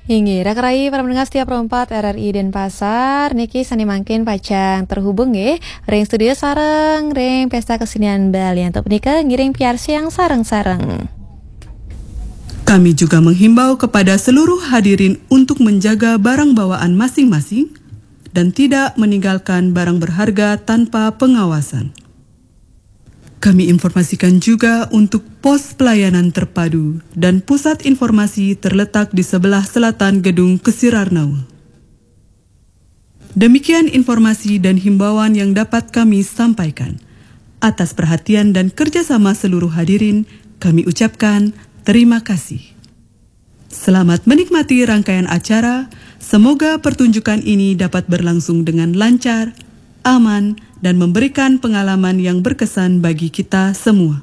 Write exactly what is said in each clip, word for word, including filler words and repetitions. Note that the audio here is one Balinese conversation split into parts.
Inggih, raka rai para pendengar setia Pro empat R R I Denpasar, niki sane mangkin pacang terhubung nggih ring studio sareng ring Pesta Kesenian Bali. Antuk punika ngiring piarsiang sareng-sareng. Kami juga menghimbau kepada seluruh hadirin untuk menjaga barang bawaan masing-masing dan tidak meninggalkan barang berharga tanpa pengawasan. Kami informasikan juga untuk pos pelayanan terpadu dan pusat informasi terletak di sebelah selatan gedung Kesirarnau. Demikian informasi dan himbauan yang dapat kami sampaikan. Atas perhatian dan kerjasama seluruh hadirin, kami ucapkan terima kasih. Selamat menikmati rangkaian acara. Semoga pertunjukan ini dapat berlangsung dengan lancar, aman, dan memberikan pengalaman yang berkesan bagi kita semua.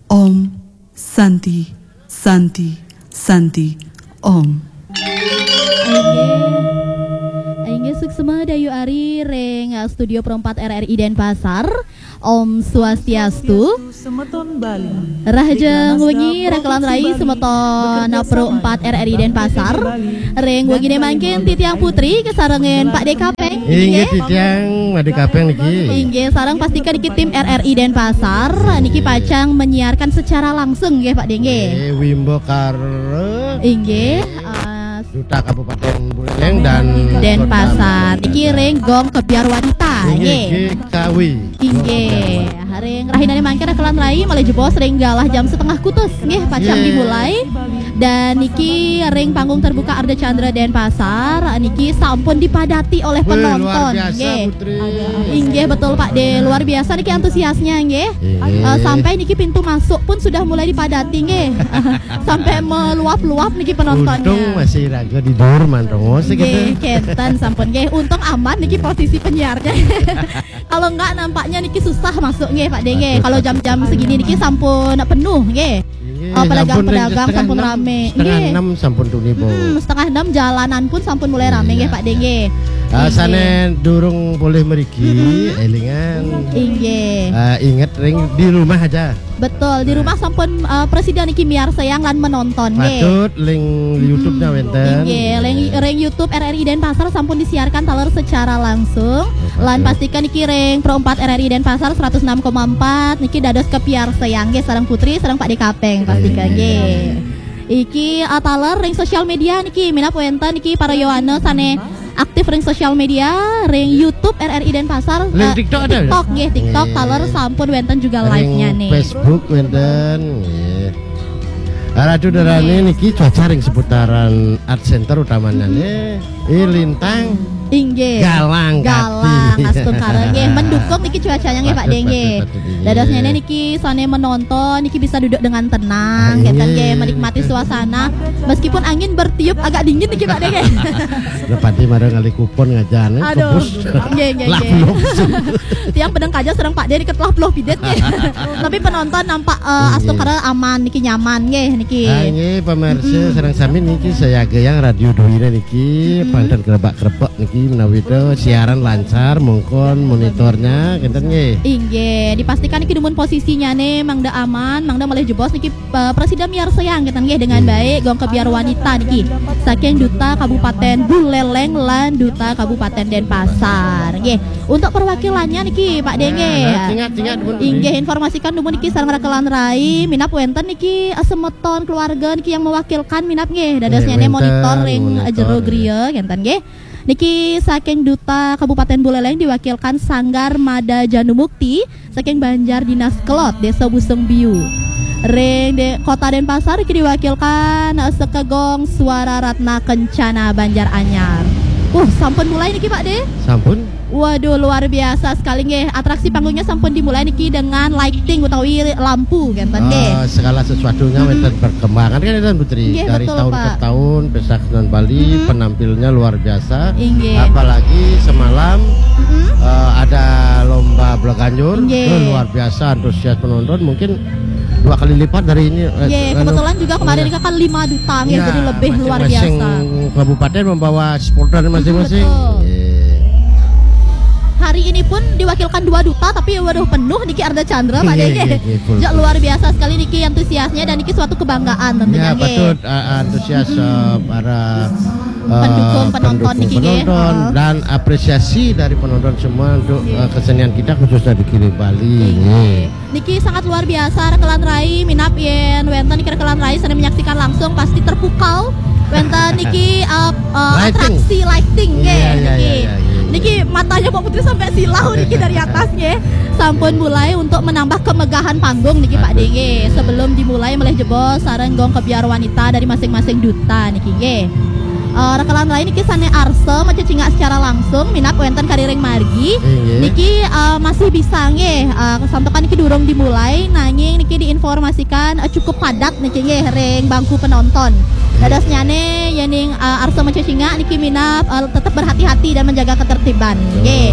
Om Santi, Santi, Santi, Om. Inggih, suksma Dayu Ari ring, uh, Studio Pro empat R R I Denpasar. Om Swastiastu. Semeton Bali. Rahajeng wengi, raka lan rai semeton Pro empat R R I Denpasar. Ring wengine mangkin titiang Putri kasarengin Pak De Kapeng. Inggih, titiang Pak De Kapeng niki. Inggih, sareng pastika niki tim R R I Denpasar niki pacang menyiarkan secara langsung nggih, Pak De nggih. Nggih, Wimbo Karo. Inggih, uh, Duta Kabupaten Buleleng dan Denpasar. Niki ring Gong Kebyar Wanita nggih. G K W. Inggih. Ring rahinane mangkin raka lan rai malih jebos ring galah jam setengah kutus nggih pacang dimulai. Dan niki ring panggung terbuka Ardha Candra Denpasar niki sampun dipadati oleh penonton nggih. Inggih, betul Pak De, luar biasa niki antusiasnya nggih. Eh, sampai niki pintu masuk pun sudah mulai dipadati nggih. Sampai meluap-luap niki penontonnya. Untung masih raga di dur mantongo sih. Nggih, kenten sampun nggih. Untung aman niki posisi penyiarnya. Kalau enggak nampaknya niki susah masuk nggih Pak De nggih. Kalau jam-jam segini niki sampun penuh nggih. Pedagang-pedagang sampun rame. Setengah enam sampun tuni, Bu. Hmm, setengah enam jalanan pun sampun mulai rame nggih Pak De nggih. Ah, sane durung boleh meriki, elingan. Inggih. Ah, ingat ring di rumah aja. Betul, di rumah sampun, eh, prasida niki miarsayang lan menonton nggih. Patut ring YouTube-nya wenten. Inggih, ring, ring YouTube R R I Denpasar sampun disiarkan taler secara langsung. Lan pastika niki ring Pro empat R R I Denpasar seratus enam koma empat niki dados kapiarsayang nggih sareng Putri sareng Pak De Kapeng pastika nggih. Iki, eh, taler ring sosial media niki minab wenten niki para yowana sane aktif ring sosial media, ring YouTube R R I Denpasar, ring, eh, TikTok ada, TikTok nggih, TikTok taler sampun wenten juga live-nya nih. Facebook wenten nggih. Ratu Darani niki cuaca ring seputaran Art Center utamanya nih. Eh, Lintang. Inggih. Galang, galang, astungkara nggih. Mendukung niki cuacanya nggih Pak De nggih. Patut, patut, patut, inggih. Dadosnya niki sane menonton niki bisa duduk dengan tenang, ah, gitu nggih, menikmati suasana. Meskipun angin bertiup agak dingin niki Pak De nggih. Lah pati marang ngalih kupon ngajan, eh, aduh, kebus. Nggih, nggih, nggih. Tiang pedeng kaja sareng Pak De niki telah peluh pidet nggih. Tapi penonton nampak, eh, astungkara aman niki, nyaman nggih niki. Ah, nggih, pamirsa sareng sami niki sayaga yang Radio Duwina niki, panten kerebak-kerebek niki menawi to siaran lancar, mongkon monitornya kenten nggih. Inggih, dipastikan niki dumun posisinya nih mangda aman, mangda malih jebos niki, eh, prasida miarsayang kenten nggih dengan baik Gong Kebyar Wanita niki. Saking Duta Kabupaten Buleleng lan Duta Kabupaten Denpasar nggih. Untuk perwakilannya niki Pak De nggih. Nah, tinggal, tinggal dumun. Inggih, informasikan dumun niki sareng raka lan rai, minab wenten niki, eh, semeton keluarga niki yang mewakilkan minab nggih. Dadosnya nih monitor ring, eh, jero griya kenten nggih. Niki saking Duta Kabupaten Buleleng diwakilkan Sanggar Mada Janumukti saking Banjar Dinas Kelod, Desa Busung Biu. Ring de, Kota Denpasar niki diwakilkan, eh, Sekegong Suara Ratna Kencana Banjar Anyar. Uh, sampun mulai niki Pak De? Sampun. Waduh, luar biasa sekali nggih. Atraksi panggungnya sampun dimulai niki dengan lighting utawi lampu kenten nggih. Eh, segala sesuatunya wenten perkembangan kan, Tuan Putri. Nggih, dari betul, tahun ke Pak. Tahun, Pesta Kesenian Bali, penampilnya luar biasa. Inggih. Apalagi semalam, eh, ada lomba bola ganjur. Inggih. Itu luar biasa antusias penonton. Mungkin dua kali lipat dari ini, eh, nggih, anu, kebetulan juga kemarin kan lima duta nggih, jadi lebih luar biasa. Masing-masing kabupaten membawa supporter masing-masing. Betul. Nggih. Hari ini pun diwakilkan dua duta, tapi waduh, penuh niki Ardha Candra, Pak Dege. Jok, luar biasa sekali niki antusiasnya dan niki suatu kebanggaan tentunya. Ya, patut, uh, antusias, uh, para, uh, pendukung, penonton niki, nggih. Penonton dan apresiasi dari penonton semua untuk, uh, kesenian kita, khususnya di Kiri Bali. Nggih. Niki sangat luar biasa, rekelan rai, minab yen wenten niki rekelan rai sane menyaksikan langsung pasti terpukau. Wenten niki, uh, uh, atraksi lighting, nggih, niki. Niki matanya Pak Putri sampai silau niki dari atas, nggih. Sampun mulai untuk menambah kemegahan panggung niki, Pak Dege. Sebelum dimulai melih jebos sareng gong kebyar wanita dari masing-masing duta niki, nggih. Uh, rekelan rai niki sane arsa macecingak secara langsung minab wenten kariring margi. Niki, uh, masih bisa, nggih, uh, santukan niki durung dimulai, nanging niki diinformasikan, uh, cukup padat niki, nggih, ring bangku penonton. Dadosnyane yening, uh, arsa macecingak niki minab, uh, tetep berhati-hati dan menjaga ketertiban, nggih.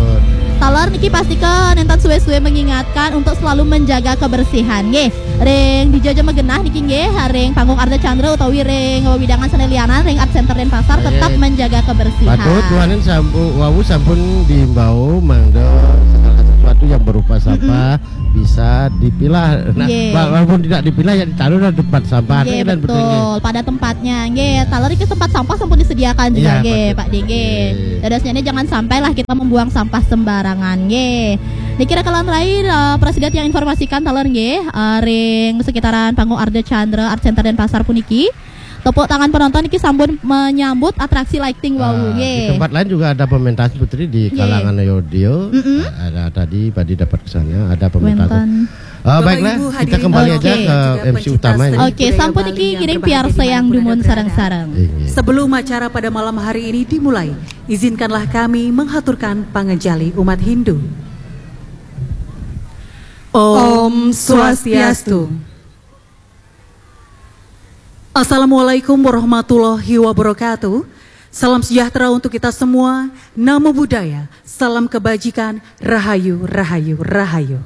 Taler niki pastika nenten suwe-suwe mengingatkan untuk selalu menjaga kebersihan, nggih. Ring dija ja magenah niki, nggih, ring panggung Ardha Candra utawi ring wewidangan sane lianan ring Art Center Denpasar tetap menjaga kebersihan. Patut, duaning sampu-, wau sampun diimbau mangda segala sesuatu yang berupa sampah bisa dipilah. Nah, walaupun tidak dipilah, ya ditaruh di tempat sampah. Nggih, betul. Pada tempatnya. Nggih, taler niki tempat sampah sampun disediakan juga, nggih, Pak Dege. Dadosnyane jangan sampailah kita membuang sampah sembarangan, nggih. Niki rekelan rai, eh, prasida tiang informasikan taler, nggih, eh, ring sekitaran panggung Ardha Candra Art Center Denpasar puniki. Tepuk tangan penonton niki sampun menyambut atraksi lighting wau, nggih. Di tempat lain juga ada pementasan, Putri, di kalangan audio. Ada tadi, Pak Dege dapat ke sana, ada pementasan. Eh, baiklah, kita kembali aja ke M C utama ini. Oke, sampun niki ngiring piarsa yang dumun sareng-sareng. Sebelum acara pada malam hari ini dimulai, izinkanlah kami menghaturkan panganjali umat Hindu. Om Swastiastu. Assalamualaikum warahmatullahi wabarakatuh. Salam sejahtera untuk kita semua. Namo Buddhaya. Salam kebajikan. Rahayu, rahayu, rahayu.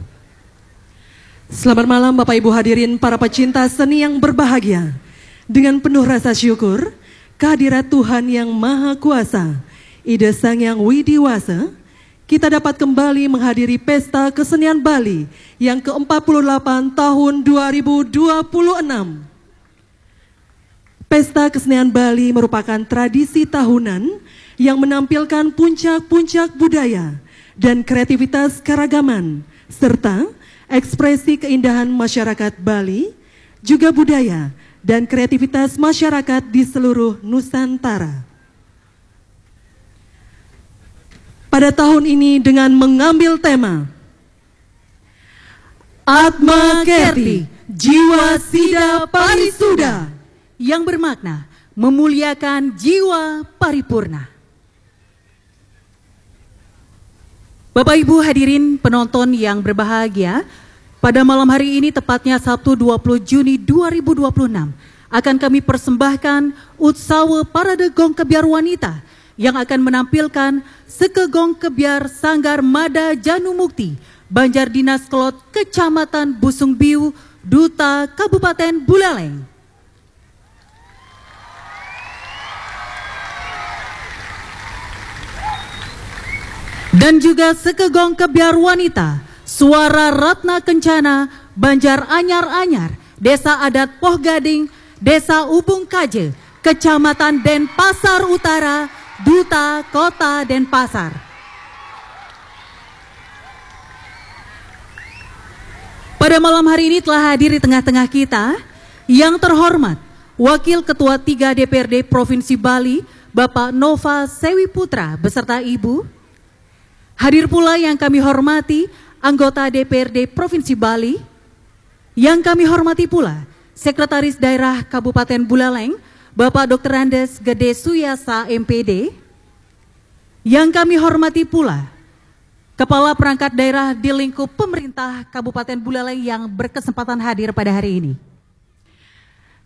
Selamat malam, Bapak Ibu hadirin, para pecinta seni yang berbahagia. Dengan penuh rasa syukur kehadirat Tuhan Yang Maha Kuasa, Ida Sang Yang Widi Wasa, kita dapat kembali menghadiri Pesta Kesenian Bali yang keempat puluh delapan tahun dua ribu dua puluh enam. Pesta Kesenian Bali merupakan tradisi tahunan yang menampilkan puncak-puncak budaya dan kreativitas keragaman, serta ekspresi keindahan masyarakat Bali, juga budaya dan kreativitas masyarakat di seluruh Nusantara. Pada tahun ini dengan mengambil tema Atma Kerti, Jiwa Sida Parisuda, yang bermakna memuliakan jiwa paripurna. Bapak Ibu hadirin penonton yang berbahagia, pada malam hari ini, tepatnya Sabtu dua puluh Juni dua ribu dua puluh enam, akan kami persembahkan Utsawa Parade Gong Kebyar Wanita yang akan menampilkan Seka Gong Kebyar Sanggar Mada Janu Mukti, Banjar Dinas Kelod, Kecamatan Busung Biu, Duta, Kabupaten Buleleng. Dan juga Seka Gong Kebyar Wanita, Suara Ratna Kencana, Banjar Anyar-Anyar, Desa Adat Poh Gading, Desa Ubung Kaje, Kecamatan Denpasar Utara, Duta, Kota Denpasar. Pada malam hari ini telah hadir di tengah-tengah kita yang terhormat Wakil Ketua tiga D P R D Provinsi Bali, Bapak Nova Sewi Putra beserta Ibu. Hadir pula yang kami hormati anggota D P R D Provinsi Bali, yang kami hormati pula Sekretaris Daerah Kabupaten Buleleng, Bapak Doktor Andes Gede Suyasa, M P D, yang kami hormati pula Kepala Perangkat Daerah di lingkup pemerintah Kabupaten Buleleng yang berkesempatan hadir pada hari ini.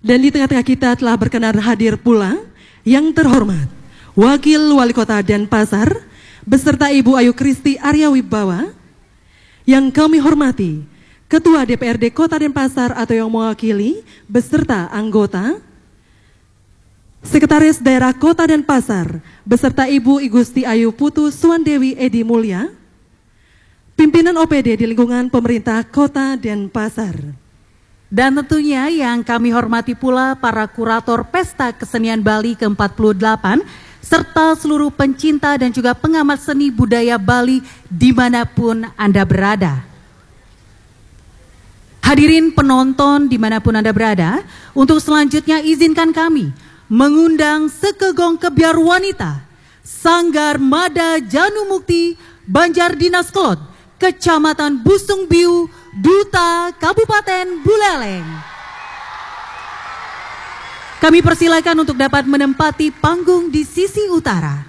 Dan di tengah-tengah kita telah berkenan hadir pula yang terhormat Wakil Wali Kota Denpasar beserta Ibu Ayu Kristi Arya Wibawa, yang kami hormati Ketua D P R D Kota Denpasar atau yang mewakili beserta anggota, Sekretaris Daerah Kota Denpasar beserta Ibu I Gusti Ayu Putu Suwandewi Edi Mulya, pimpinan O P D di lingkungan pemerintah Kota Denpasar. Dan tentunya yang kami hormati pula para kurator Pesta Kesenian Bali ke empat puluh delapan, serta seluruh pencinta dan juga pengamat seni budaya Bali dimanapun Anda berada. Hadirin penonton dimanapun Anda berada, untuk selanjutnya izinkan kami mengundang Sekegong Kebiar Wanita Sanggar Mada Janu Mukti Banjar Dinas Kelod, Kecamatan Busung Biu, Duta Kabupaten Buleleng. Kami persilakan untuk dapat menempati panggung di sisi utara.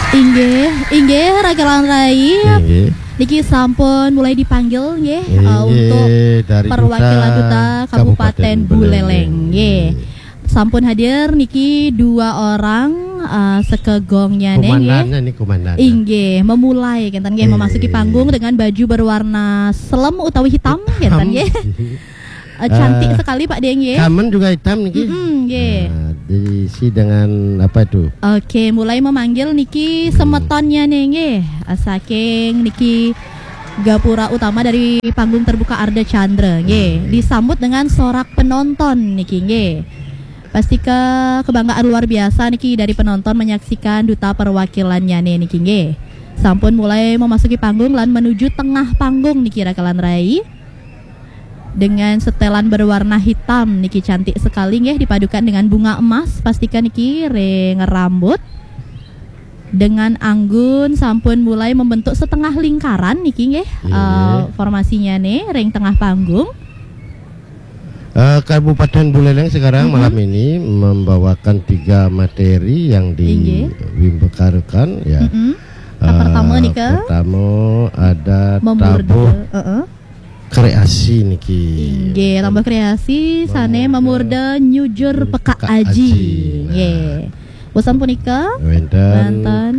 Inggih, inggih, Rakelan Rai. Inggih. Niki sampun mulai dipanggil nggih, eh, Inggih, untuk dari perwakilan Duta Duta Kabupaten Kabupaten Buleleng. Buleleng. Nggih. Sampun hadir niki dua orang, eh, sekegongnya nggih. Komandannya nih, komandannya. Inggih, memulai kenten nggih, memasuki Inggih. panggung dengan baju berwarna selem utawi hitam, Hitam. kenten nggih. Eh, cantik Eh, sekali Pak Deng nggih. Kamen juga hitam niki. Mm-mm, nggih. Nah, diisi dengan apa itu? Oke, mulai memanggil niki Hmm. semetonnya nih nggih. Eh, saking niki gapura utama dari panggung terbuka Ardha Candra nggih. Hmm. Disambut dengan sorak penonton niki nggih. Pastika kebanggaan luar biasa niki dari penonton menyaksikan duta perwakilannya nih niki nggih. Sampun mulai memasuki panggung lan menuju tengah panggung niki Rakelan Rai. Dengan setelan berwarna hitam niki cantik sekali nggih, dipadukan dengan bunga emas, pastika niki ring rambut. Dengan anggun sampun mulai membentuk setengah lingkaran niki nggih, Iya. eh, formasinya nih ring tengah panggung. Eh, Kabupaten Buleleng sekarang Mm-mm. malam ini membawakan tiga materi yang Inggih. diwimbekarukan, ya. Mm-mm. Yang Eh, pertama nika? Pertama ada Memurda, tabuh heeh. kreasi niki. Inggih, tabuh kreasi, sane Memurda. memurda nyujur Nyujur peka peka aji. aji. Nah. Nggih. Bosan punika? Wenten Wenten.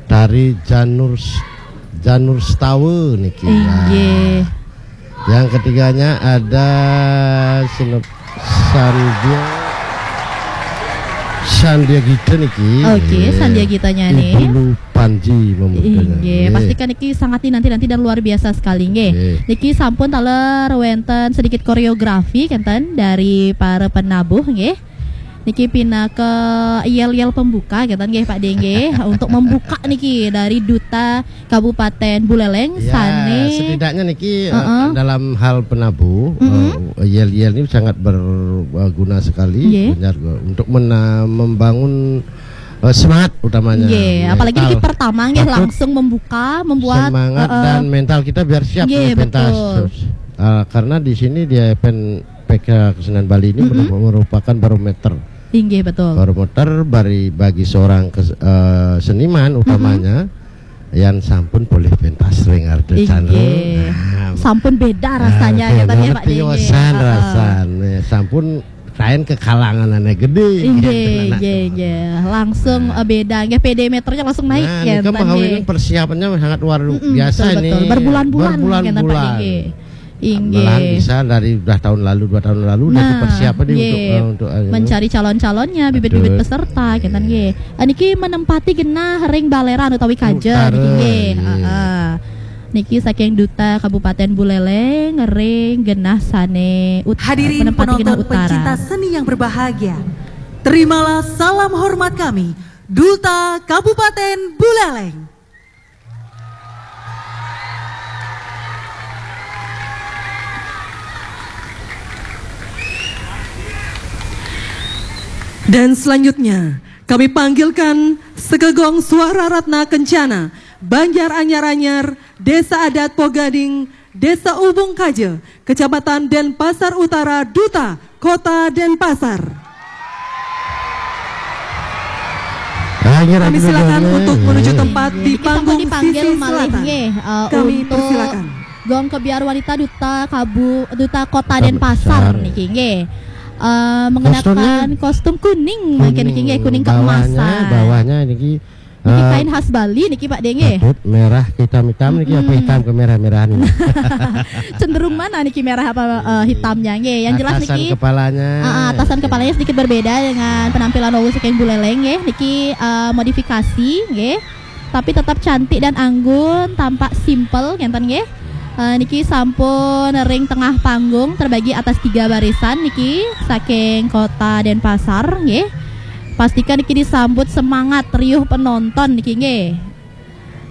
tari Janur S-, Janur Stawa niki. Inggih. Nah. Yang ketiganya ada sinep-, Sandia, Sandia Gita niki. Oke, Nggih. Sandia Gitanya nih. Ibu Lu Panji memudanya. Inggih, Nggih. Pasti kan niki sangat dinanti-nanti dan luar biasa sekali nggih. Nggih. Niki sampun taler wenten sedikit koreografi kenten dari para penabuh nggih. Niki pinaka yel-yel pembuka kenten nggih Pak Deng nggih untuk membuka niki dari Duta Kabupaten Buleleng Ya, sane setidaknya niki, eh, Heeh. dalam hal penabuh, Mm-mm. eh, yel-yel ini sangat berguna sekali Nggih. Banjar, eh, untuk mena-, membangun, eh, semangat utamanya Nggih, apalagi niki mental. pertama nggih Patut langsung membuka, membuat, semangat heeh. dan mental kita biar siap Nggih, di pentas. betul. Eh, karena di sini di event P K Kesenian Bali ini Mm-mm. merupakan barometer. Inggih, betul. Barometer bari bagi seorang kes-, eh, seniman Mm-mm. utamanya yang sampun polih pentas ring Ardha Candra. Inggih. Nah, Sampun beda ah, rasanya, beda kenten nggih, Pak Deng, nggih. piosan Heeh. rasane. Sampun kain kekalangan anak gede, Inggih, kenten anak nggih, tuh. nggih. Langsung, Nah. eh, beda nggih, P D meternya langsung naik Nah, ya, nika kenten, mahawinan nggih. persiapannya sangat luar Mm-mm, biasa betul, ini. betul. Berbulan-bulan, kenten, Pak Berbulan-bulan. Deng, nggih. Inggih. Malahan bisa dari udah tahun lalu, dua tahun lalu, udah Nah, persiapan nih nggih. untuk, eh, untuk, eh, Mencari calon-calonnya, bibit-bibit Betul. peserta, kenten, Nggih. nggih. Eh, niki menempati genah ring baleran utawi kaja, Utara, niki, nggih. nggih. Heeh. Niki saking Duta Kabupaten Buleleng, ring genah sane ut-, Hadirin menempati genah penonton utara. pencinta seni yang berbahagia, terimalah salam hormat kami, Duta Kabupaten Buleleng. Dan selanjutnya, kami panggilkan Sekegong Suara Ratna Kencana, Banjar Anyar-Anyar, Desa Adat Pogading, Desa Ubung Kaja, Kecamatan Denpasar Utara, Duta Kota Denpasar. Akhir Kami aku silakan dulu, untuk ya. menuju tempat Niki di sampun panggung dipanggil sisi malih selatan. nggih, eh, Kami untuk persilakan. Gong Kebiar Wanita Duta Kabu-, Duta Kota Kota Denpasar Besar. niki nggih. Eh, mengenakan Kostumnya kostum kuning, mungkin niki nggih, kuning bawahnya, keemasan. bawahnya niki Niki kain khas Bali niki, Pak De, nggih. Patut merah hitam-hitam niki apa hitam kemerah-merahan ini? Cenderung mana niki, merah apa eh, hitamnya, nggih? Yang jelas niki, kepalanya. Ah, atasan kepalanya sedikit berbeda dengan penampilan wau saking Buleleng, nggih. Niki eh, modifikasi, nggih. Tapi tetap cantik dan anggun, tampak simple, ngenten, nggih. Eh, niki sampun ring tengah panggung, terbagi atas tiga barisan niki, saking Kota Denpasar, nggih. Pastikan niki disambut semangat riuh penonton niki, nggih.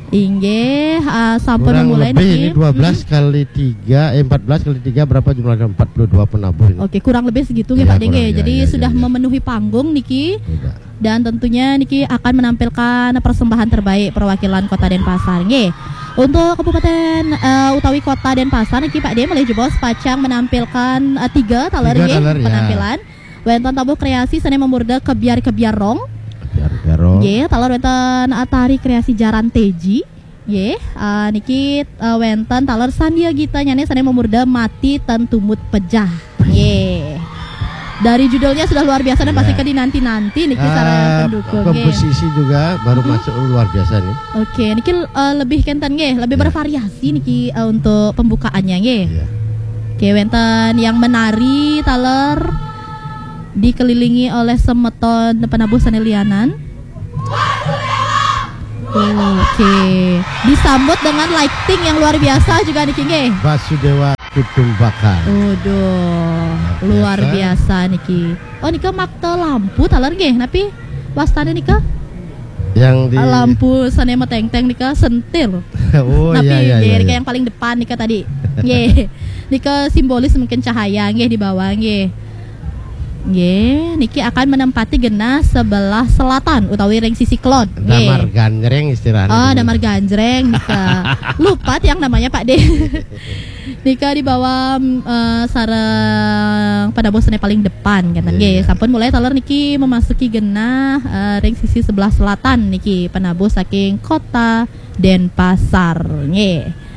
Inggih, eh, sampun Kurang mulai lebih ini niki. dua belas kali tiga, eh, empat belas kali tiga berapa jumlahnya? Empat puluh dua penabuh ini. Oke, kurang lebih segitu nggih, Iya, Pak De, kurang, nggih. iya, Jadi iya, iya, sudah iya. Memenuhi panggung niki. Tidak. Dan tentunya niki akan menampilkan persembahan terbaik perwakilan Kota Denpasar, nggih. Untuk Kabupaten eh, utawi Kota Denpasar niki, Pak De, malih jebos pacang menampilkan eh, tiga taler, Tiga nggih, taler, ya. Penampilan. Wénten tabuh kreasi sané mamurda kebyar-kebyar rong. Kebyar-kebyar rong. Nggih, taler wénten eh, tari kreasi jaran teji. Nggih, eh, niki eh, wénten taler Sandia Gita nyané sané mamurda mati ten tumut pejah. Nggih. Dari judulnya sudah luar biasa dan Iya. Pasti Kedinanti-nanti niki sareng Ah, pendukung, nggih. Komposisi juga baru masuk, luar biasa nih. Oke, niki eh, lebih kenten nggih, lebih Ya. Bervariasi niki eh, untuk pembukaannya nggih. Iya. Oke, wénten yang menari taler dikelilingi oleh semeton penabuh sané lianan. Oke, disambut dengan lighting yang luar biasa juga niki nggih. Basudewa Kutumbakan. Waduh, Luar luar biasa niki. Oh, nika makta lampu taler nggih, napi wastané nika? Yang di Lampu sané meténgténg nika sentil. Oh Napi iya iya nggih, iya. nika Iya. Yang paling depan nika tadi. Nggih. Nika simbolis mungkin cahaya nggih di bawah nggih. Nggih, niki akan menempati genah sebelah selatan utawi ring sisi kelod. Nggih. Damar ganjreng istilahnya. Oh, dulu. Damar ganjreng nika. Lupa yang namanya Pak De. Nika di bawah eh, sareng penabuh sané paling depan kenten nggih. Iya. Sampun mulai taler niki memasuki genah eh, ring sisi sebelah selatan niki penabuh saking Kota Denpasar nggih.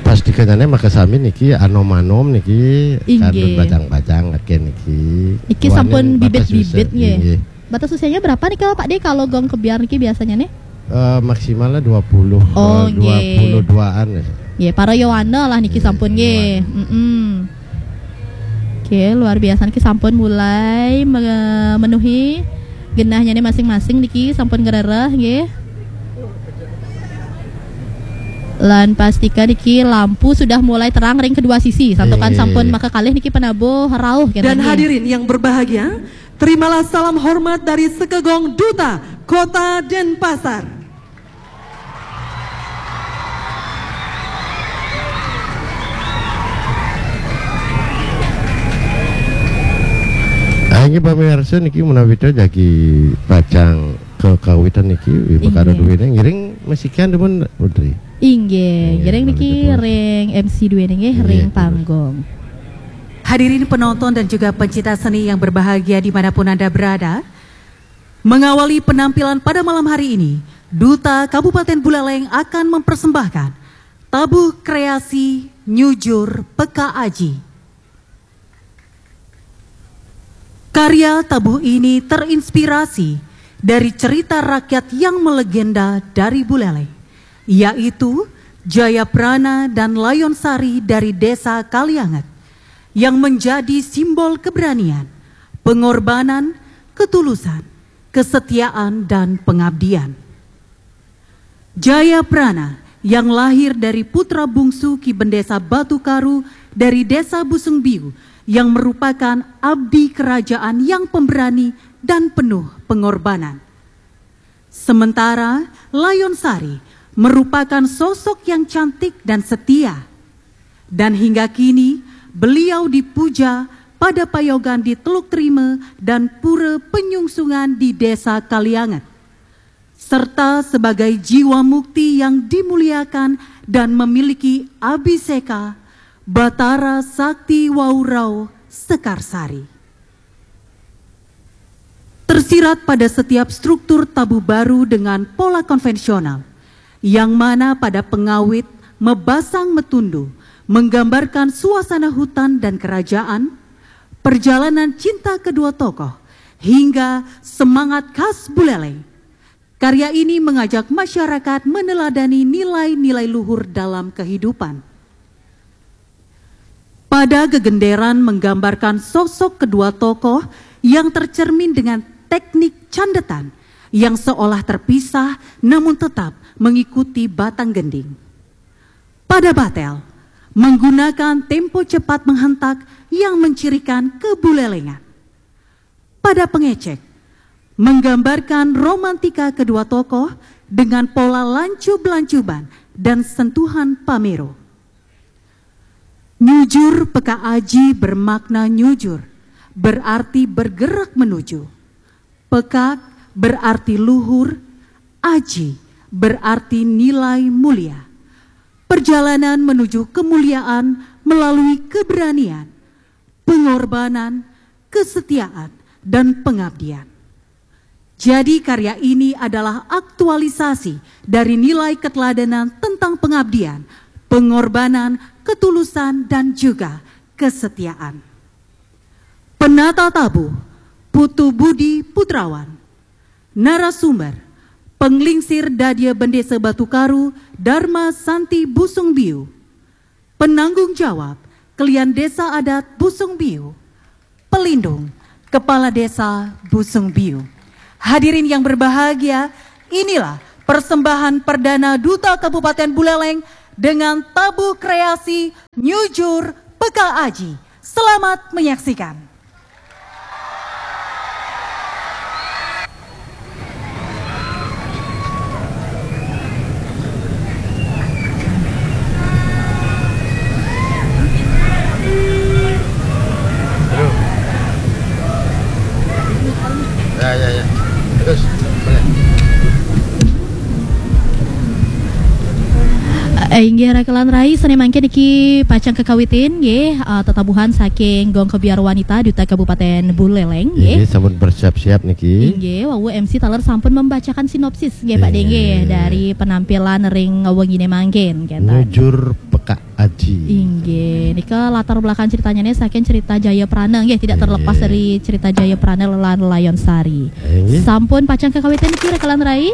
Pas dikanyane maka sami niki anom-anom niki Inggih. Kandun bajang-bajang akhir niki. Niki Wanen sampun batas bibit-bibit usia. nggih. Inggih. Batas usianya berapa nih kalau Pak De kalau gong kebyar niki biasanya nih? Eh, maksimalnya dua puluh Oh, eh, nggih. dua puluh duaan ya. Nggih, para yowana lah niki Nggih, sampun nggih. yowana. Mm-mm. Oke, luar biasa niki sampun mulai memenuhi genahnya nih masing-masing niki sampun ngerereh nggih. Lan pastika niki lampu sudah mulai terang ring kedua sisi. Santukan Nggih. Sampun maka kalih niki penabuh rauh kenten Dan nggih. Hadirin yang berbahagia, terimalah salam hormat dari Sekegong Duta Kota Denpasar. Ah, ini pamirsa niki menawi to jagi pacang kekawitan niki, Inggih. Mekara duwene ngiring mesikian dipun Putri. Inggih, Inggih, ngiring niki menawi dipun. Ring M C duwene nggih, Inggih, ring betul. Panggung. Hadirin penonton dan juga pencinta seni yang berbahagia dimanapun Anda berada, mengawali penampilan pada malam hari ini, Duta Kabupaten Buleleng akan mempersembahkan Tabuh Kreasi Nyujur Peka Aji. Karya tabuh ini terinspirasi dari cerita rakyat yang melegenda dari Buleleng, yaitu Jayaprana dan Layon Sari dari Desa Kalianget, yang menjadi simbol keberanian, pengorbanan, ketulusan, kesetiaan, dan pengabdian. Jayaprana yang lahir dari putra bungsu Ki Bendesa Batu Karu dari Desa Busung Biu yang merupakan abdi kerajaan yang pemberani dan penuh pengorbanan. Sementara Layon Sari merupakan sosok yang cantik dan setia. Dan hingga kini beliau dipuja pada payogan di Teluk Terima dan Pura Penyungsungan di Desa Kalianget, serta sebagai jiwa mukti yang dimuliakan dan memiliki abiseka Batara Sakti Waurau Sekarsari. Tersirat pada setiap struktur tabuh baru dengan pola konvensional, yang mana pada pengawit mebasang metundu menggambarkan suasana hutan dan kerajaan, perjalanan cinta kedua tokoh, hingga semangat khas Buleleng. Karya ini mengajak masyarakat meneladani nilai-nilai luhur dalam kehidupan. Pada gegenderan menggambarkan sosok kedua tokoh yang tercermin dengan teknik candetan yang seolah terpisah namun tetap mengikuti batang gending. Pada Batel, menggunakan tempo cepat menghentak yang mencirikan kebulelengan. Pada Pengecek, menggambarkan romantika kedua tokoh dengan pola lancub-lancuban dan sentuhan pamero. Nyujur peka aji bermakna nyujur, berarti bergerak menuju. Pekak berarti luhur, aji berarti nilai mulia. Perjalanan menuju kemuliaan melalui keberanian, pengorbanan, kesetiaan, dan pengabdian. Jadi karya ini adalah aktualisasi dari nilai keteladanan tentang pengabdian, pengorbanan, ketulusan, dan juga kesetiaan. Penata tabuh, Putu Budi Putrawan. Narasumber, Penglingsir Dadia Bendesa Batu Karu, Dharma Santi Busung Biu. Penanggung jawab, Kelian Desa Adat Busung Biu. Pelindung, Kepala Desa Busung Biu. Hadirin yang berbahagia, inilah persembahan perdana Duta Kabupaten Buleleng dengan tabuh kreasi Nyujur Peka Aji. Selamat menyaksikan. Aduh. Ya, ya, ya. Terus, boleh. Eh, inggih rekelan rai, sane mangkin niki pacang kekawitin nggih, eh, tetabuhan saking Gong Kebiar Wanita Duta Kabupaten Buleleng nggih. Ini sampun bersiap-siap niki. Inggih, wau M C taler sampun membacakan sinopsis nggih Pak Inggih. Denggih dari penampilan ring wengine mangkin kenten. Nyujur Peka Aji. Inggih, nika latar belakang ceritanya nih saking cerita Jaya Prana nggih, tidak terlepas Inggih. Dari cerita Jaya Prana lan Layon Sari. Inggih. Sampun pacang kekawitin niki rekelan rai?